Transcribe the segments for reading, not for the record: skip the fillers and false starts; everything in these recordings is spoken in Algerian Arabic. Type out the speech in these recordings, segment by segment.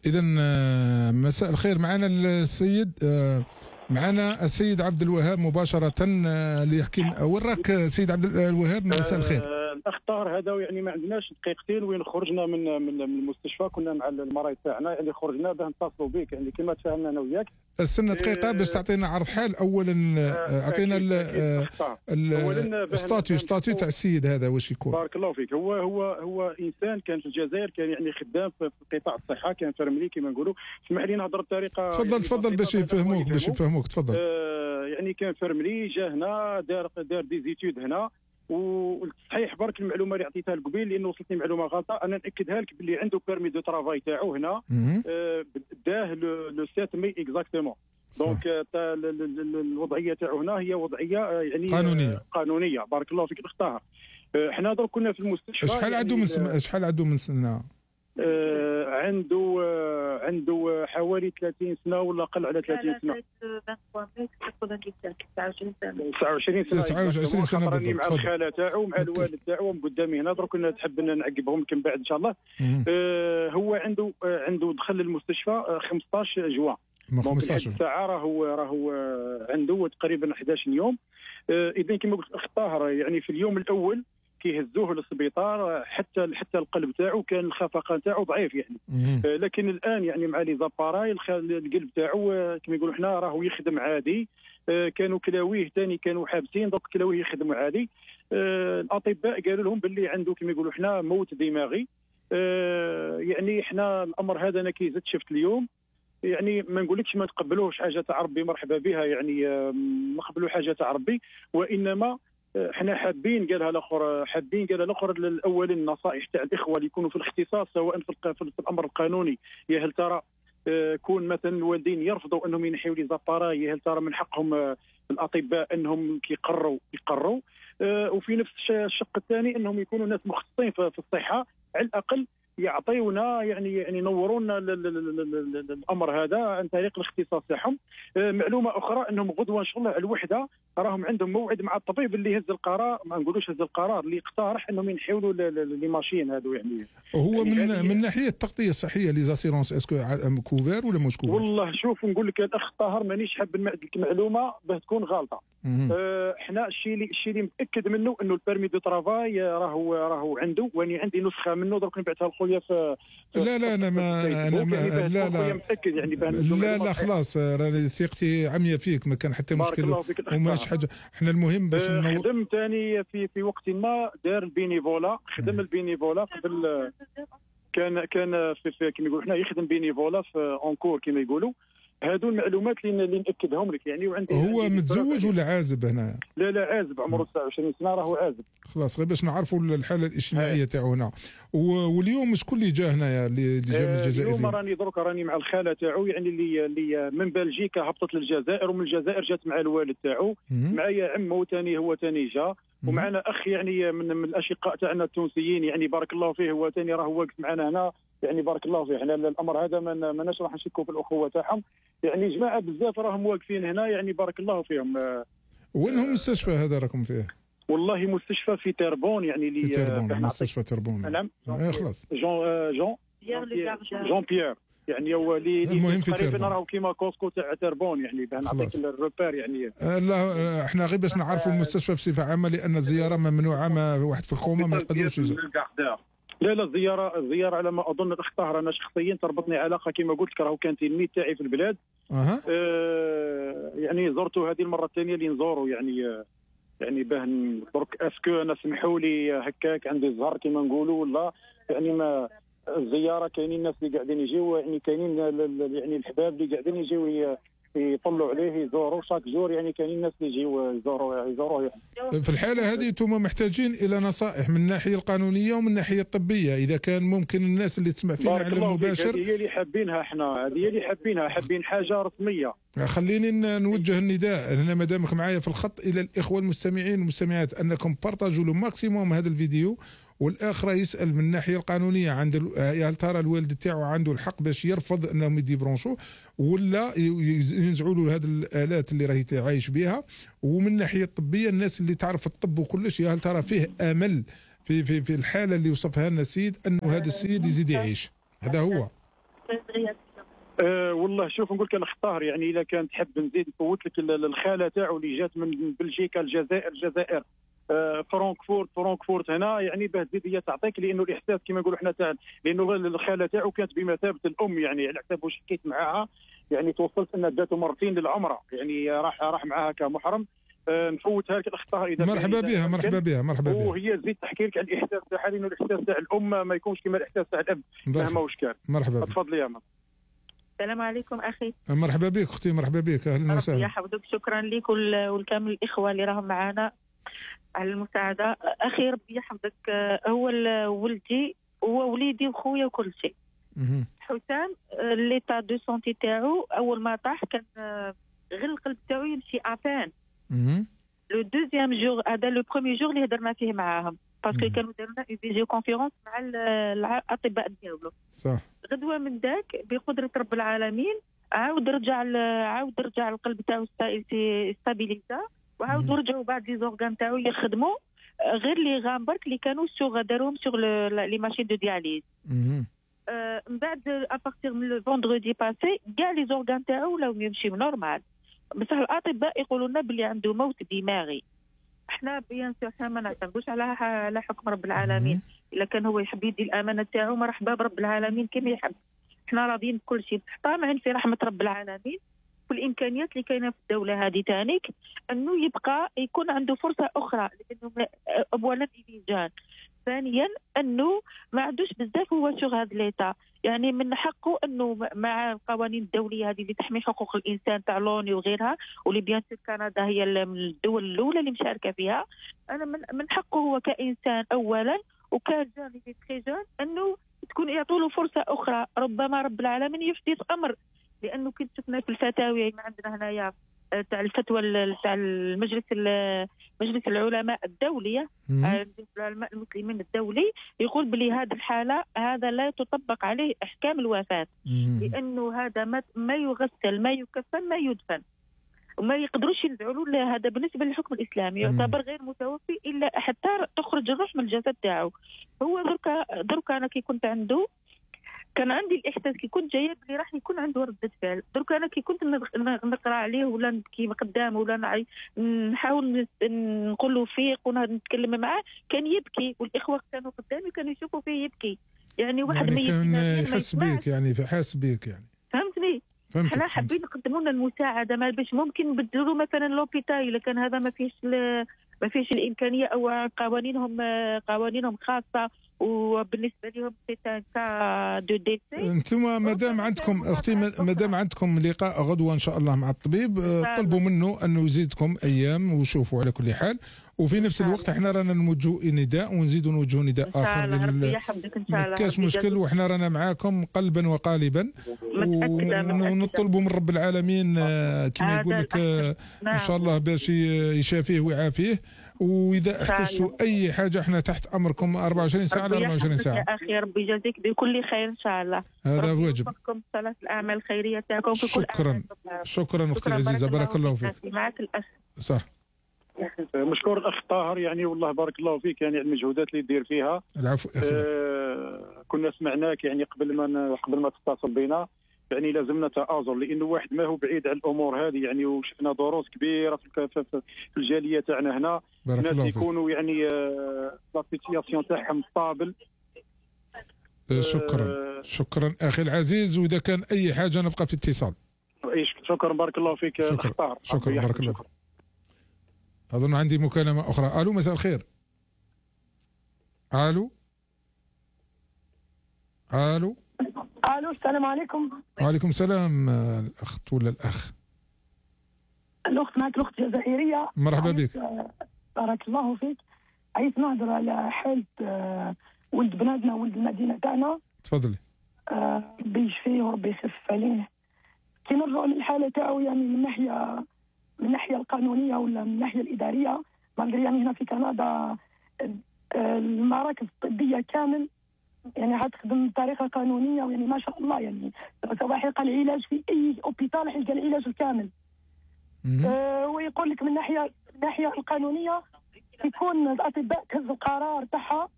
إذا مساء الخير. معنا السيد عبد الوهاب مباشرة ليحكي. وين راك سيد عبد الوهاب؟ مساء الخير. الاخ طاهر هذا يعني ما عندناش دقيقتين وين خرجنا من المستشفى، كنا مع المريض تاعنا يعني خرجنا باه نتصلوا بك يعني كما تفاهمنا انا وياك. استنى دقيقة باش تعطينا عرض حال. اولا اعطينا ستاتيو تاع السيد هذا واش يكون. بارك الله فيك. هو انسان كان في الجزائر، كان يعني خدام في قطاع الصحة، كان فرملي كما نقولوا. اسمح لي نهضر بطريقة تفضل باش يفهموك تفضل. يعني كان فرملي جا هنا دار دي زيتود هنا، والصحيح برك المعلومه اللي عطيتها لك قبيل لانه وصلتني معلومه غلطه. انا ناكدها لك باللي عنده بيرمي دو ترافاي تاعو هنا داه لو 7 مي اكزاكتومون. دونك الوضعيه تاعو هنا هي وضعيه يعني قانونيه. بارك الله فيك اختها. احنا درك كنا في المستشفى. شحال عنده من سنه؟ عنده حوالي 30 سنه ولا اقل على 30 سنه. 29 سنه بالضبط. مع الخاله تاعو مع الوالد تاعو قدامي هنا. درك كنا تحب نعقبهم لكم بعد ان شاء الله. هو عنده دخل المستشفى 15 جوان. 15 ساعه راهو عنده تقريبا 11 يوم. اذا كما قلت اخ طاهر يعني في اليوم الاول كيهزوه للسبيطار حتى القلب تاعو كان الخفقان تاعو ضعيف يعني. لكن الان يعني مع لي زاباراي القلب تاعو كما يقولوا حنا راهو يخدم عادي. كانوا كلاويه ثاني كانوا حابسين، دوك كلاويه يخدم عادي. الاطباء قالوا لهم باللي عنده كما يقولوا حنا موت دماغي. يعني حنا الامر هذا انا كي زدت شفت اليوم يعني ما نقولكش ما نقبلوش حاجه تاع ربي مرحبا بها يعني نقبلوا حاجه تاع ربي، وانما احنا حابين قالها الاخر الاول النصائح تاع الاخوه اللي يكونوا في الاختصاص سواء في الامر القانوني. يا هل ترى كون مثلا الوالدين يرفضوا انهم ينحيوا لي زاباراي، يا هل ترى من حقهم الاطباء انهم يقروا وفي نفس الشق الثاني انهم يكونوا ناس مختصين في الصحه على الاقل يعطيونا يعني ينورونا الامر هذا عن طريق الاختصاص تاعهم. معلومه اخرى انهم غدوه ان شاء الله على الوحده راهم عندهم موعد مع الطبيب اللي هز القرار، ما نقولوش هز القرار، اللي اقترح انهم ينحيوا لي ماشين هذو يعني. هو من ناحيه التغطيه الصحيه لي زاسيرونس اسكو كوفير ولا مش كوفير؟ والله شوف نقول لك الاخ طاهر مانيش حاب نمعد لك معلومه باه تكون غلطه. احنا الشيء اللي متاكد منه انه البيرمي دو ترافاي راهو عنده، واني عندي نسخه منه درك نبعثها لخويا في لا انا متاكد يعني لا خلاص راني ثقتي عمياء فيك، ما كان حتى مشكل وماش حاجه. احنا المهم باش خدم ثاني في وقت ما دار البينيفولا، خدم البينيفولا قبل كان في كما يقولوا حنا يخدم بينيفولا في اونكور كما يقولوا. هادو المعلومات اللي ناكدهم لك يعني. وعندي هو متزوج ولا عازب هنا؟ لا عازب، عمره 29 سنه راهو عازب. خلاص غير باش نعرفوا الحاله الاجتماعيه تاعو هنا. واليوم شكون اللي جا هنايا اللي جا من الجزائر؟ اليوم راني مع الخاله تاعو يعني اللي من بلجيكا هبطت للجزائر، ومن الجزائر جات مع الوالد تاعو، معايا عمه ثاني هو ثاني جا، ومعنا اخ يعني من الاشقاء تاعنا التونسيين يعني بارك الله فيه، هو ثاني راه واقف معنا هنا يعني بارك الله فيه. احنا الامر هذا ما راح نشكوا في الاخوه تاعهم يعني، جماعه بزاف راهم واقفين هنا يعني بارك الله فيهم. وينهم المستشفى هذا راكم فيه؟ والله مستشفى في تربون يعني اللي في تربون، مستشفى تربون. نعم خلاص جون بيير يعني هو المهم في تقريبا راهو كيما كوسكو تاع تربون يعني باه نعطيك الروبير يعني. لا احنا غير باش نعرفوا المستشفى بصفه عامه لان الزياره ممنوعه، ما واحد في الخومه ما يقدروش يزور. لا الزياره على ما اظن الاخ طاهر انا شخصيا تربطني علاقه كما قلت لك، راهو كان تلميذ تاعي في البلاد. يعني زرته هذه المره الثانيه اللي نزوروا يعني باه درك اسكو انا سمحوا لي هكاك عندي الزهر كما نقولوا ولا يعني ما الزياره كاينين الناس اللي قاعدين يجيو يعني كاينين يعني الحباب اللي قاعدين يجيو يطلوا عليه يزوروا شاك جور يعني كاينين الناس اللي يجيو يزوروه يعني. في الحاله هذه انتم محتاجين الى نصائح من الناحيه القانونيه ومن الناحيه الطبيه، اذا كان ممكن الناس اللي تسمع فينا على المباشر. هذه هي اللي حابينها احنا، هذه هي اللي حابين حاجه رسميه. خليني نوجه النداء هنا مادامك معايا في الخط الى الاخوه المستمعين والمستمعات انكم بارطاجوا لو ماكسيموم هذا الفيديو. والاخر يسال من الناحيه القانونيه عند هل ترى الوالد تاعو عنده الحق باش يرفض انهم يديبرونشوه ولا ينزعوا له هذه الالات اللي راهي عايش بها. ومن الناحيه الطبيه الناس اللي تعرف الطب وكلش هل ترى فيه امل في الحاله اللي وصفها لنا السيد انه هذا السيد يزيد يعيش. هذا هو. والله شوف نقول لك الاخ طاهر، يعني اذا كان تحب نزيد نفوت لك الخاله تاعو اللي جات من بلجيكا الجزائر فرانكفورت هنا، يعني باه تزيد هي تعطيك، لانه الاحساس كما نقولوا احنا تاع، لانه الخاله تاعو كانت بمثابه الام، يعني على حسب واش حكيت معاها، يعني توصلت انها جاته مرتين للعمره، يعني راح معاها كمحرم. نفوتها لك الاخ طاهر اذا مرحبا بها. وهي تزيد تحكي لك على الاحساس تاعها، لانه الاحساس تاع الام ما يكونش كما الاحساس تاع الاب مهما واش كان. مرحبا بك. تفضلي يا ماما. السلام عليكم اخي. مرحبا بك اختي، مرحبا بك، اهلا وسهلا. ربي يحفظك، شكرا لك والكامل الاخوه اللي راهم معنا على المساعده. اخي ربي يحفظك، هو ولدي هو وليدي وخويا وكل شيء. حسام ليتا دو سونتي تاعو اول ما طاح كان غير القلب تاعو يمشي ابان. لو دوزيام جور هذا لو بروميي جور اللي هضرنا فيه معاهم، باسكو كانوا دارنا اون فيديو كونفيرونس مع الاطباء ديالو. صح. غدوه من ذاك بقدره رب العالمين عاود رجع القلب تاعو ستابيليزا، وعاود رجعوا بعض لي زورغان تاعو يخدموا، غير لي غام برك اللي كانوا داروهم سوغ لي ماشين دو دياليز. من بعد ابارتيغ من لو فوندردي باسي كاع لي زورغان تاعو ولاو يمشيو نورمال، بصح الاطباء يقولوا لنا بلي عنده موت دماغي. احنا بيان سور احنا ما نعتمدوش على حكم رب العالمين، الا كان هو يحب يدي الامانه تاعو مرحبا برب العالمين كما يحب، احنا راضيين بكل شيء، طامعين في رحمه رب العالمين والامكانيات اللي كاينه في الدوله هذه تانيك، انه يبقى يكون عنده فرصه اخرى، لانه اولا يجان، ثانيا انه ما عندوش بزاف هو سوغ هذا ليتا، يعني من حقه انه مع القوانين الدوليه هذه اللي تحمي حقوق الانسان تاع لوني وغيرها، واللي بيان سور كندا هي من الدول الاولى اللي مشاركه فيها، انا من حقه هو كانسان اولا وكجان اللي تري جون انه تكون يعطوا له فرصه اخرى، ربما رب العالمين يحدث امر، لانه كنت شفنا في الفتاوي ما عندنا هنايا تاع الفتوى تاع مجلس العلماء الدوليه، العلماء المسلمين الدولي، يقول بلي هذه الحاله هذا لا تطبق عليه احكام الوفاه، لانه هذا ما يغسل ما يكفن ما يدفن، وما يقدروش ينزعوا له، هذا بالنسبه للحكم الاسلامي يعتبر غير متوفي الا حتى تخرج الروح من الجسد تاعو. هو دركا انا كي كنت عنده كان عندي الاحساس كي كنت جايه بلي راح يكون عنده رده فعل، درك انا كي كنت نقرا عليه ولا نبكي قدامه ولا نحاول نقول له فيق ونتكلم معاه كان يبكي، والاخوه كانوا قدامي كانوا يشوفوا فيه يبكي، يعني واحد يعني كان يحس بيك، يعني حاس بيك، يعني فهمتني. احنا حابين نقدموا لنا المساعده، ما باش ممكن نبدلوا مثلا لوبيتال اذا كان هذا ما فيش الامكانيه، او قوانينهم خاصه وبالنسبه لهم كا دو ديسي. انتم مادام عندكم اختي، مادام عندكم لقاء غدوه ان شاء الله مع الطبيب، طلبوا منه انه يزيدكم ايام وشوفوا على كل حال، وفي نفس الوقت احنا رانا نوجهوا نداء ونزيدوا نوجهوا نداء اخر ما كاش مشكل، وحنا رانا معاكم قلبا وقالبا، ونطلبوا من رب العالمين كما يقول لك ان شاء الله باش يشافيه ويعافيه، واذا احتجتوا اي حاجه احنا تحت امركم 24 ساعه على 24 ساعه. يا اخي ربي يجازيك بكل خير ان شاء الله، هذا واجب. ربي صلاه الاعمال الخيريه تاعكم في كل شكرا اختي العزيزه، بارك الله فيك. معك الاخ. صح. مشكور الاخ طاهر، يعني والله بارك الله فيك، يعني المجهودات اللي دير فيها. العفو. كنا سمعناك يعني قبل ما تتصل بنا، يعني لازمنا تآزر، لانه واحد ما هو بعيد عن الامور هذه، يعني وشفنا دروس كبيره في الجاليه تاعنا هنا، الناس يكونوا يعني لا سيتياسيون تاعهم ستابل. شكرا اخي العزيز، واذا كان اي حاجه نبقى في اتصال. شكرا بارك الله فيك. شكرا بارك الله فيك. اظن عندي مكالمه اخرى. الو مساء الخير. الو السلام عليكم. وعليكم السلام. الاخت ولا الاخ؟ الاخت معك، الاخت جزائريه. مرحبا بك. بارك الله فيك. عايز نهضر على حاله ولد بلادنا ولد المدينه تاعنا. تفضلي. ربي يشفيه وربي يخفف عليه. كي نرجعوا للحاله تاعو، يعني من الناحيه القانونيه ولا من الناحيه الاداريه، يعني هنا في كندا المراكز الطبيه كامل يعني حتخدم بطريقه قانونيه، يعني ما شاء الله، يعني سواء حلقه العلاج في اي اوبيتال حلقه العلاج الكامل. ويقول لك من الناحيه القانونيه يكون الاطباء تهز القرار تاعها،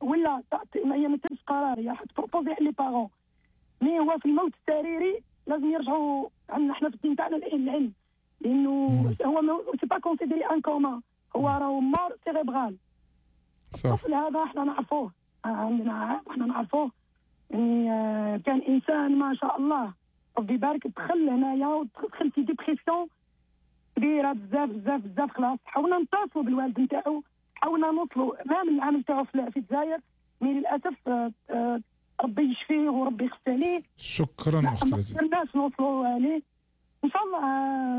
ولا هي ما تهزش قرار، هي حتبروبوزي لي بارون، مي هو في الموت السريري لازم يرجعوا عندنا احنا في الدين تاعنا العلم، لانه هو سي با كونسيديري ان كوما، هو راهو مور سيريبرال. الطفل هذا احنا نعرفوه، عندنا احنا نعرفوه يعني كان انسان ما شاء الله ربي يبارك، دخل هنايا ودخل في ديبرسيون كبيره بزاف بزاف بزاف. خلاص حاولنا نتصلوا بالوالد نتاعو، حاولنا نوصلوا امام العام تاعو في الجزائر، مي للاسف ربي يشفيه وربي يخف عليه. شكرا اختي لذيذ. الناس نوصلوا عليه ان شاء الله،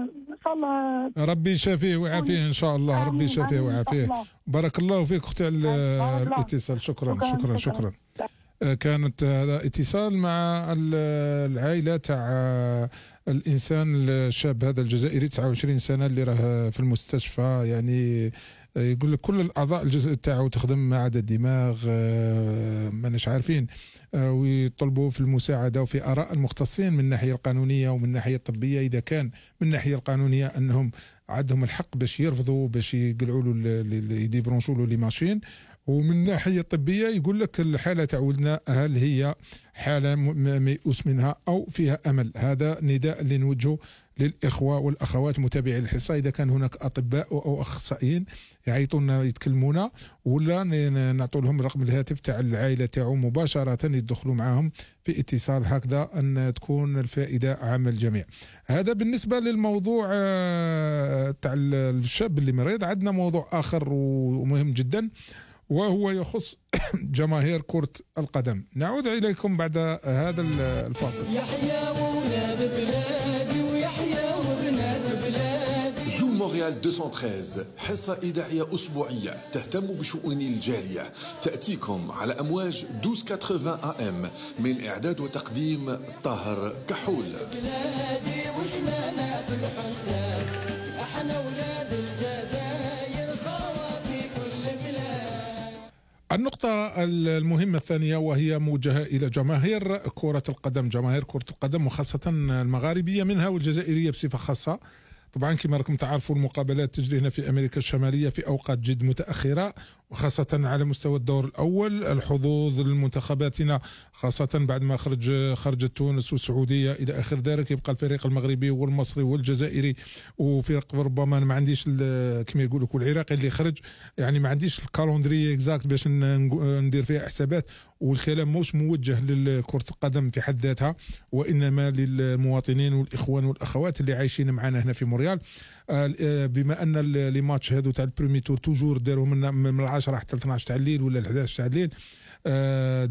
ان شاء الله ربي يشافيه ويعافيه ان شاء الله. ربي يشافيه ويعافيه. بارك الله فيك اختي على الاتصال. شكرا. كانت هذا اتصال مع العائله تاع الانسان الشاب هذا الجزائري 29 سنه اللي راه في المستشفى. يعني يقول لك كل الاعضاء الجسد تاعو تخدم ما عدا الدماغ، ماناش عارفين، ويطلبوا في المساعده وفي اراء المختصين من الناحيه القانونيه ومن الناحيه الطبيه. اذا كان من الناحيه القانونيه انهم عندهم الحق باش يرفضوا باش يقلعوا له يديبرونشوا له لي ماشين، ومن الناحيه الطبيه يقول لك الحاله تاع ولدنا هل هي حاله ميؤوس منها او فيها امل. هذا نداء اللي نوجهه للاخوه والاخوات متابعي الحصه، اذا كان هناك اطباء او اخصائيين يعيطونا يتكلمونا، ولا نعطوا لهم رقم الهاتف تاع العائله تاعو مباشره يدخلوا معاهم في اتصال، هكذا ان تكون الفائده عامه الجميع. هذا بالنسبه للموضوع تاع الشاب اللي مريض. عندنا موضوع اخر ومهم جدا، وهو يخص جماهير كرة القدم. نعود إليكم بعد هذا الفاصل. يحيى ولاد بلادي ويحيى وبنات بلادي. جو مونريال 213 حصة إذاعية أسبوعية تهتم بشؤون الجالية، تأتيكم على أمواج 1280 AM، من إعداد وتقديم طاهر كحول. بلادي وشمالنا في الحساب، احنا ولاد الجزائر خوا في كل بلاد. النقطة المهمة الثانية وهي موجهة إلى جماهير كرة القدم، جماهير كرة القدم وخاصة المغاربية منها والجزائرية بصفة خاصة. طبعا كما راكم تعرفوا المقابلات تجري هنا في أمريكا الشمالية في أوقات جد متأخرة، وخاصة على مستوى الدور الأول. الحظوظ لمنتخباتنا خاصة بعد ما خرجت تونس والسعودية إلى آخر ذلك، يبقى الفريق المغربي والمصري والجزائري وفرق ربما ما عنديش كما يقولوا والعراقي اللي خرج. يعني ما عنديش الكالندري اكزاكت باش ندير فيها حسابات، والكلام مش موجه لكرة القدم في حد ذاتها، وإنما للمواطنين والإخوان والأخوات اللي عايشين معنا هنا في مونريال. بما أن لي ماتش هذو تاع البريمي تور توجور داروا من 10 حتى 12 تاع الليل ولا 11 تاع الليل،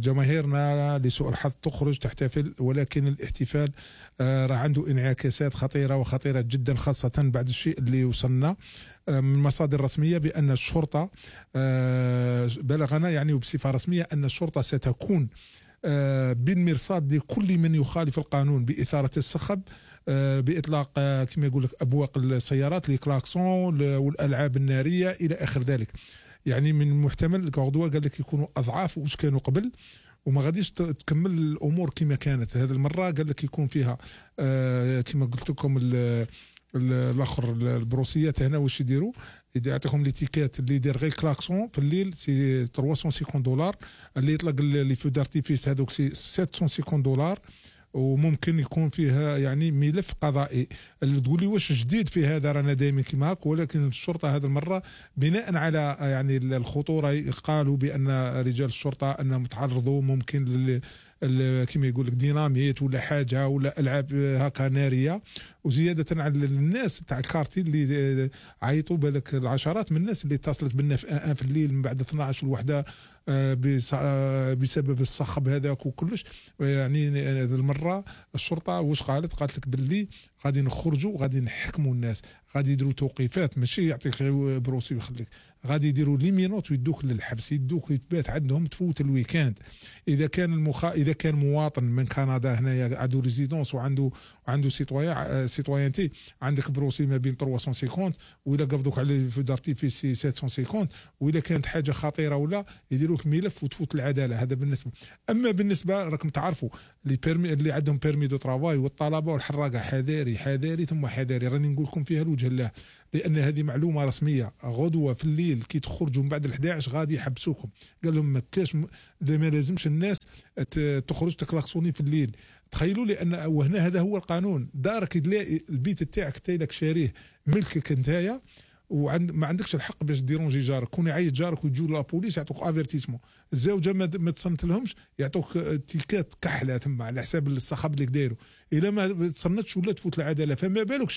جماهيرنا لسوء الحظ تخرج تحتفل، ولكن الاحتفال راه عنده انعكاسات خطيرة وخطيرة جدا، خاصة بعد الشيء اللي وصلنا من مصادر رسمية بأن الشرطة بلغنا يعني وبصفة رسمية أن الشرطة ستكون بالمرصاد لكل من يخالف القانون بإثارة الصخب، بإطلاق كما يقول لك أبواق السيارات لكلاكسون والألعاب النارية إلى آخر ذلك. يعني من المحتمل الغدوة قال لك يكونوا أضعاف واش كانوا قبل، وما غاديش تكمل الأمور كما كانت. هذه المرة قال لك يكون فيها كما قلت لكم الاخر البروسيات هنا واش يديروا، يعطيهم ليتيكات اللي يدير غير كلاكسون في الليل سي 350 دولار، اللي يطلق لي فو دارتيفيس هذوك سي 750 دولار، وممكن يكون فيها يعني ملف قضائي. اللي تقول لي واش جديد في هذا، رانا دائما كما هاك، ولكن الشرطه هذه المره بناء على يعني الخطوره قالوا بان رجال الشرطه انهم تعرضوا ممكن كما يقول لك ديناميت ولا حاجه ولا العاب هكا ناريه، وزياده على الناس تاع الكارتي اللي عيطوا بالك العشرات من الناس اللي اتصلت بنا في الليل من بعد 12 الوحده بسبب الصخب هذاك وكلش. يعني هذه المره الشرطه واش قالت لك باللي غادي نخرجوا وغادي نحكموا الناس، غادي يديروا توقيفات، ماشي يعطيك غير بروسي ويخليك، غادي يديروا لي مينوت ويدوك للحبس، يدوك يتبات عندهم تفوت الويكاند. اذا كان مواطن من كندا هنايا عنده ريزيدونس وعنده سيتويانتي، عندك بروسي ما بين 350 وإلا قبضوك على في دارتيفيس 750، وإلا كانت حاجه خطيره ولا يديروك ملف وتفوت العداله. هذا بالنسبه. اما بالنسبه راكم تعرفوا اللي عندهم بيرمي دو ترافاي والطلبه والحراقه، حذاري ثم حذاري، راني نقول لكم فيها الوجه الله. لان هذه معلومه رسميه. غدوه في الليل كي تخرجوا من بعد ال11 غادي يحبسوكم. قال لهم ما كاش ما لازمش الناس تخرج تكلاكسوني في الليل. تخيلوا لان وهنا هذا هو القانون. دارك تلاقي البيت تاعك تايلك شاريه ملكك نتايا ما عندكش الحق باش ديرونجي جارك. كون يعيط جارك ويجوا لابوليس يعطوك افيرتيسمون. الزوجه ما تصنت لهمش يعطوك تيكات كحله تما على حساب الصخب اللي دايروا. الا ما تصنتش ولا تفوت العداله. فما بالك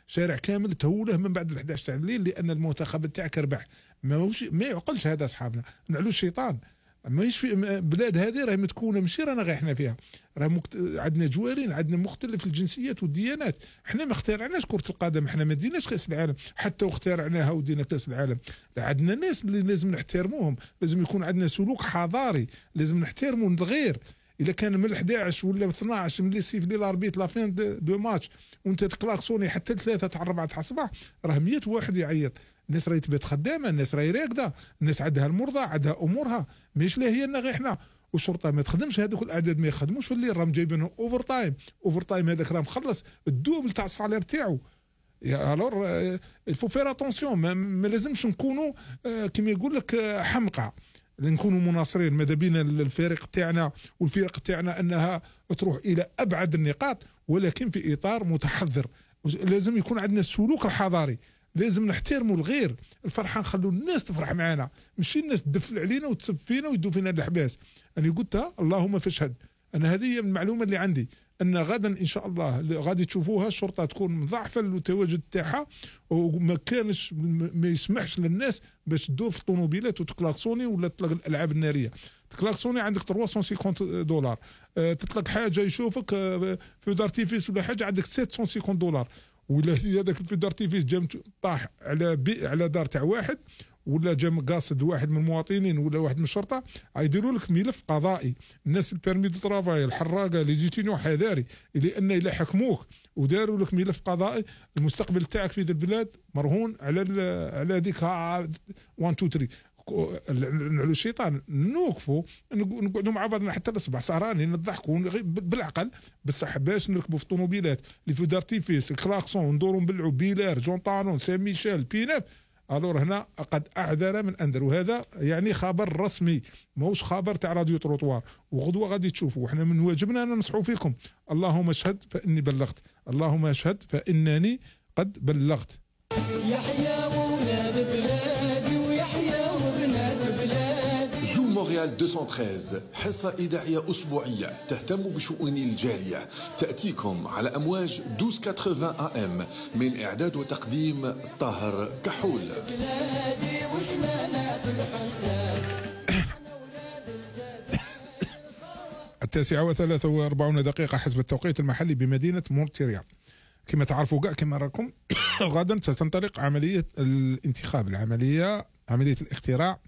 شارع كامل تهوله من بعد ال11 تاع الليل لان المنتخب تاعك ربح. ما يعقلش هذا اصحابنا. نعلو الشيطان. ماهيش في بلاد هذه راهي متكونه ماشي رانا غير احنا فيها. راه عندنا جوارين، عندنا مختلف الجنسيات والديانات. احنا ما اخترعناش كره القدم، احنا ما ديناش كاس العالم حتى واخترعناها ودينا كاس العالم. عندنا ناس اللي لازم نحترموهم، لازم يكون عندنا سلوك حضاري، لازم نحترموا الغير. اذا كان من 11 ولا 12 من الصيف ديال الاربيت لا فين دو ماتش وانت تكلاكسوني حتى 3 تاع 4 تاع الصباح، راه 100 واحد يعيط. الناس راهي تبات خدامه، الناس راهي راقده، الناس عندها المرضى، عندها امورها، ماشي لا هي غير احنا. والشرطه ما تخدمش، هذوك الاعداد ما يخدموش في الليل، راهم جايبينهم اوفر تايم هذاك راه مخلص الدوبل تاع الصالير تاعو. الور الفو فير اتونسيون. ما لازمش نكونوا كما يقول لك حمقى، نكونوا مناصرين. ماذا بينا الفريق تاعنا والفرق تاعنا انها تروح الى ابعد النقاط، ولكن في اطار متحضر. لازم يكون عندنا السلوك الحضاري، لازم نحترموا الغير. الفرحه نخلوا الناس تفرح معنا، ماشي الناس تدفل علينا وتسب فينا ويدوا فينا الحباس. انا قلتها اللهم فاشهد. انا هذه هي المعلومه اللي عندي، ان غدا ان شاء الله غادي تشوفوها الشرطه تكون مضاعفه التواجد تاعها، وما كانش ما يسمحش للناس باش تدور في الطوموبيلات وتكلاكسوني ولا تطلق الالعاب الناريه. تكلاكسوني عندك $350 تطلق حاجه يشوفك في دارتيفيس ولا حاجه عندك $750. ولا هذاك في دارتيفيس جا طاح على دار تاع واحد ولا جا قاصد واحد من المواطنين ولا واحد من الشرطه، يديروا لك ملف قضائي. الناس البيرمي دو ترافاي الحراقه لي زيتينيون حذاري، لان الا حكموك وداروا لك ملف قضائي المستقبل تاعك في ذا البلاد مرهون على هذيك 1 2 3. نعلو الشيطان، نوقفوا نقعدوا مع بعضنا حتى الصباح سهرانين نضحكوا بالعقل بصح باش نركبوا في الطوموبيلات اللي في دارتيفيس كلاكسون ندوروا نبلعوا بيلار جون طانون سان ميشيل بيناف. الور هنا قد اعذر من انذر، وهذا يعني خبر رسمي ماهوش خبر تاع راديو تروطوار. وغدوه غادي تشوفوا. احنا من واجبنا ان ننصحوا فيكم. اللهم اشهد فاني بلغت، اللهم اشهد فانني قد بلغت. يحيى ولاد بلادي ويحيى وبنات بلادي. جو مونريال 213 حصة إذاعية أسبوعية تهتم بشؤون الجالية، تأتيكم على أمواج 1280 AM من إعداد وتقديم طاهر كحول. بلادي وشمالات الحساب. 9:43 حسب التوقيت المحلي بمدينة مونتريال. كما تعرفوا كاع كما راكم غدا ستنطلق عملية الانتخاب، عملية الاختراع،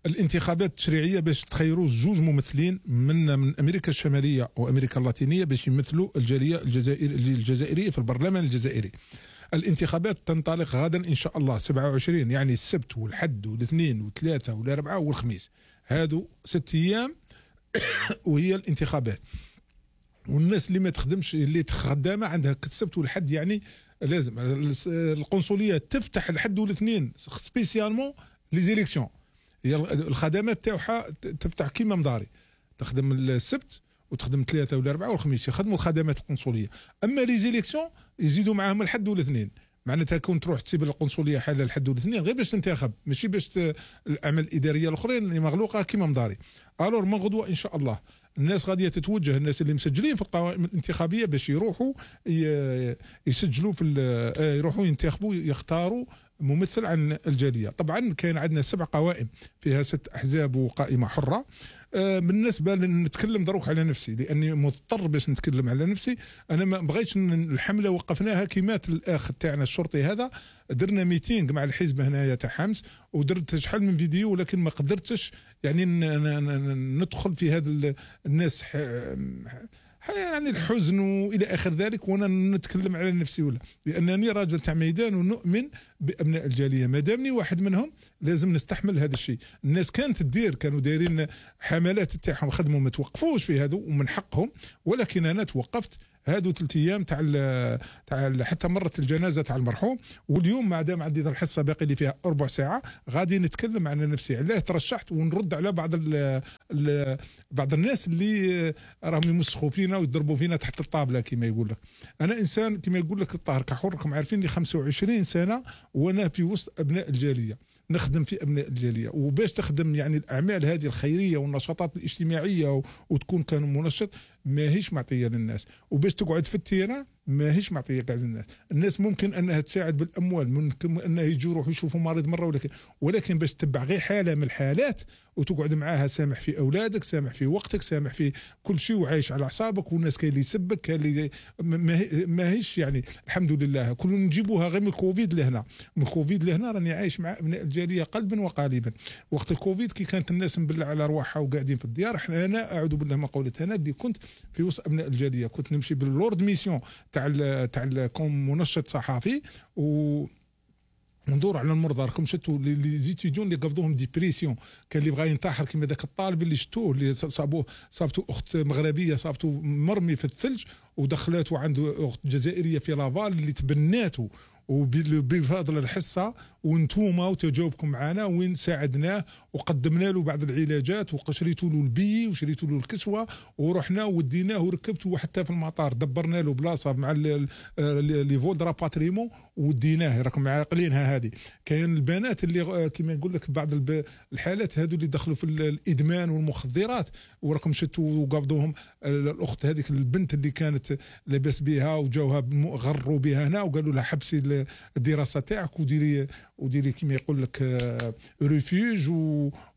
الانتخابات التشريعية باش تخيروا 2 ممثلين من أمريكا الشمالية وأمريكا اللاتينية باش يمثلوا الجالية الجزائرية في البرلمان الجزائري. الانتخابات تنطلق غدا إن شاء الله 27، يعني السبت والحد والاثنين والثلاثة والأربعاء والخميس، هادو 6 أيام وهي الانتخابات. والناس اللي ما تخدمش اللي خدامه عندها السبت والحد، يعني لازم القنصليه تفتح الحد والاثنين سبيسيالمون لي زيليكسيون. هي الخدمات تاعها تفتح كيما مداري، تخدم السبت وتخدم 3 والأربعاء والخميس، يخدموا الخدمات القنصليه. اما لي زيليكسيون يزيدوا معاهم الحد والاثنين، معناتها كون تروح تسيب القنصليه حاله الحد والاثنين غير باش تنتخب، ماشي باش الاعمال الاداريه الاخرين اللي مغلوقه كيما مداري. الور من غدوه ان شاء الله الناس غاديه تتوجه، الناس اللي مسجلين في القوائم الانتخابيه باش يروحوا يسجلوا يروحوا ينتخبوا يختاروا ممثل عن الجاليه. طبعا كاين عندنا 7 قوائم فيها 6 احزاب وقائمه حره. بالنسبه نتكلم دروك على نفسي لاني مضطر باش نتكلم على نفسي. انا ما بغيتش الحمله وقفناها كيمات الاخ تاعنا الشرطي هذا، درنا ميتينغ مع الحزب هنايا تاع حمص ودرت شحال من فيديو، ولكن ما قدرتش يعني ندخل في هذا الناس يعني الحزن والى اخر ذلك وانا نتكلم على نفسي، ولا لانني راجل تاع ميدان ونؤمن بابناء الجاليه. ما دامني واحد منهم لازم نستحمل هذا الشيء. الناس كانت كانوا دايرين حملات تاعهم خدموا ما توقفوش في هذا ومن حقهم، ولكن انا توقفت هادو 3 ايام تاع حتى مرت الجنازه تاع المرحوم. واليوم ما دام عندي الحصه باقي لي فيها ربع ساعه غادي نتكلم عن نفسي علاه ترشحت، ونرد على بعض الناس اللي راهم يمسخوا فينا ويضربوا فينا تحت الطابله كما يقول لك. انا انسان كما يقول لك الطاهر كحر، راكم عارفين لي 25 سنه وانا في وسط ابناء الجاليه، نخدم في ابناء الجاليه. وباش تخدم يعني الاعمال هذه الخيريه والنشاطات الاجتماعيه وتكون كان منشط ماهيش معطيه للناس، وباش تقعد في التيران ماهيش معطيه كاع للناس. الناس ممكن انها تساعد بالاموال، ممكن انها يجوا يروحوا يشوفوا مريض مره، ولكن باش تتبع غير حاله من الحالات وتقعد معاها سامح في اولادك، سامح في وقتك، سامح في كل شيء، وعايش على اعصابك. والناس كاين اللي يسبك، كاين اللي ماهيش يعني الحمد لله كلنا نجيبوها غير من الكوفيد لهنا. من الكوفيد لهنا راني عايش مع ابناء الجاليه قلبا وقالبا. وقت الكوفيد كي كانت الناس مبلع على ارواحها وقاعدين في الديار، انا اعوذ بالله ما قولت، انا اللي كنت في وسط ابناء الجاليه، كنت نمشي باللورد ميسيون تاع كون منشط صحفي وندور على المرضى. راكم شفتوا لي زيتيديون اللي قبضوهم ديبريسيون، كان اللي بغى ينتحر كيما ذاك الطالب اللي شفتوه اللي صابته اخت مغربيه، صابته مرمي في الثلج ودخلته عنده اخت جزائريه في لافال اللي تبناته وبفضل الحصه وانتوما وتجاوبكم معنا وين ساعدناه وقدمنا له بعض العلاجات وشريتوا له البي وشريتوا له الكسوه ورحنا وديناه وركبته حتى في المطار، دبرنا له بلاصه مع لي فول درا باتريمون وديناه. راكم عاقلينها هذه. كاين البنات اللي كما نقول لك بعض الحالات هذو اللي دخلوا في الادمان والمخدرات وراكم شفتوا وقبضوهم. الاخت هذيك البنت اللي كانت لاباس بها وجاوها غروا بها هنا وقالوا لها حبسي الدراسه تاعك وديري كما يقول لك ريفيوج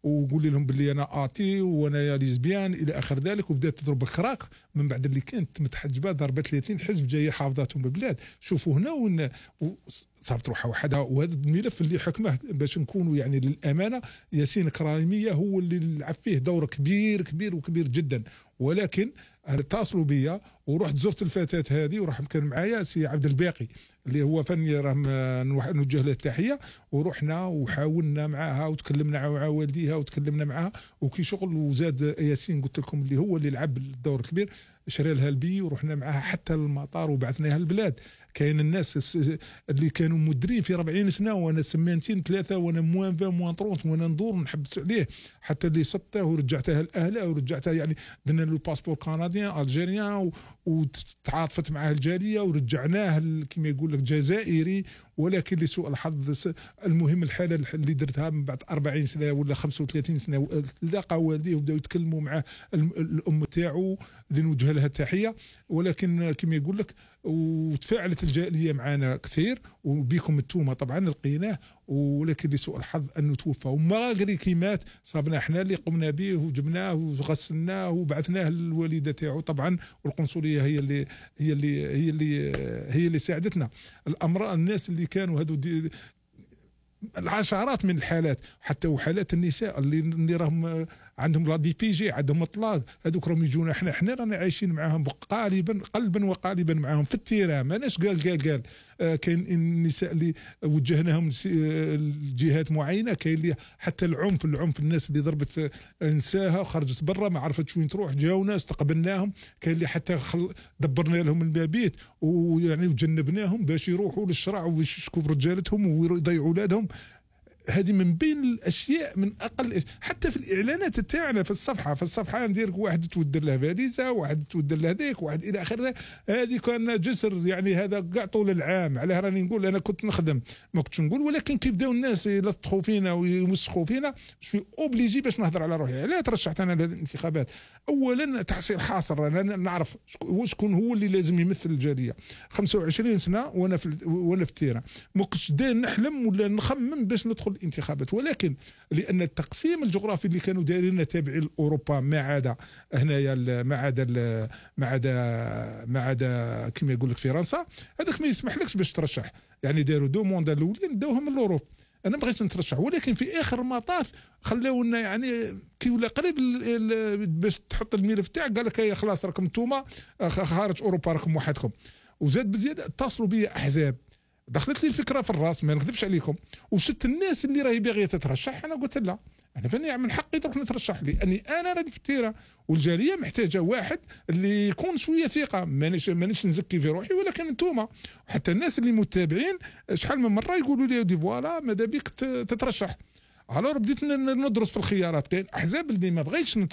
وقولي لهم باللي انا اتي وانا ليزبيان الى اخر ذلك. وبدات تضرب الكراك من بعد اللي كانت متحجبه ضربت 30 حزب جايه حافظاتهم بالبلاد. شوفوا هنا صارت روحها وحدها. وهذا الملف اللي حكمه باش نكونوا يعني للامانه ياسين كراميه هو اللي لعب فيه دور كبير كبير وكبير جدا. ولكن اتصلوا بيا ورحت زرت الفتاه هذه وراح كان معايا سي عبد الباقي اللي هو فني راهم نوجه له التحيه. ورحنا وحاولنا معاها وتكلمنا مع والديها وتكلمنا معاها وكي شغل. وزاد ياسين قلت لكم اللي هو اللي لعب الدور الكبير، شرى لها البي ورحنا معاها حتى المطار وبعثناها البلاد. كاين الناس اللي كانوا مدرين في 40 سنه وانا سمانتين 3 وانا موان 20 موان 30 وانا ندور نحبس عليه حتى اللي سطه ورجعتها لاهله ورجعتها يعني درنا له باسبور كنديان الجيريان وتعاطفت معاه الجاليه ورجعناه كما يقول لك جزائري. ولكن لسوء الحظ المهم الحاله اللي درتها من بعد 40 سنه ولا 35 سنه لقى والديه وبداو يتكلموا مع الام تاعو اللي نوجه لها التحيه. ولكن كما يقول لك وتفاعلت الجاليه معنا كثير وبيكم التومه طبعا لقيناه. ولكن لسوء الحظ انه توفى. وماغري كي مات صابنا احنا اللي قمنا به وجبناه وغسلناه وبعثناه للوالده تاعو طبعا. والقنصليه هي اللي ساعدتنا. الامراء الناس اللي كانوا هذو العشرات من الحالات حتى وحالات النساء اللي راهم عندهم لا دي بي جي عندهم اطلاق هذوك راهم يجونا احنا رانا عايشين معاهم قلبا وقالبا معاهم في التيران. ماناش قال كاين النساء اللي وجهناهم لجهات معينه. كاين اللي حتى العنف الناس اللي ضربت نساها خرجت برا ما عرفتش وين تروح جاونا استقبلناهم. كاين اللي حتى دبرنا لهم المبيت ويعني وجنبناهم باش يروحوا للشرع ويشكوا برجالتهم ويضيعوا اولادهم. هذه من بين الاشياء من اقل حتى في الاعلانات تاعنا في الصفحه ندير واحد تودر له فاليزا واحد تودر له هذيك واحد الى اخره. هذه كان جسر يعني هذا كاع طول العام. علاه راني نقول انا كنت نخدم ما كنتش نقول. ولكن كي بداو الناس يلطخوا فينا ويمسخوا فينا شوي اوبليجي باش نهضر على روحي. علاش ترشحت انا للانتخابات؟ اولا تحصيل حاصر انا نعرف شكون هو اللي لازم يمثل الجاليه. 25 سنه وانا في التيران ما كنتش داير نحلم ولا نخمم باش ندخل الانتخابات. ولكن لان التقسيم الجغرافي اللي كانوا دايرين تابعين لاوروبا ما عدا هنايا ما عدا كما يقول لك فرنسا هذاك ما يسمحلكش باش ترشح. يعني داروا دو موندا الاولين داوهم من الاوروب. انا بغيت نترشح ولكن في اخر المطاف خلاونا يعني كي ولا قريب باش تحط الملف تاعك قال لك خلاص راكم نتوما خارج اوروبا راكم وحدكم. وزاد بزياده اتصلوا بيا احزاب. دخلت لي الفكره في الراس ما نكذبش عليكم وشت الناس اللي راهي باغيه تترشح. انا قلت لا انا فاني من حقي درك نترشح لاني انا راني في التيره، والجاليه محتاجه واحد اللي يكون شويه ثقه. مانيش نزكي في روحي، ولكن انتوما حتى الناس اللي متابعين شحال من مره يقولوا لي دي فوالا ماذا بيك تترشح. الور بديت ندرس في الخيارات، كاين احزاب اللي ما بغيتش نترشح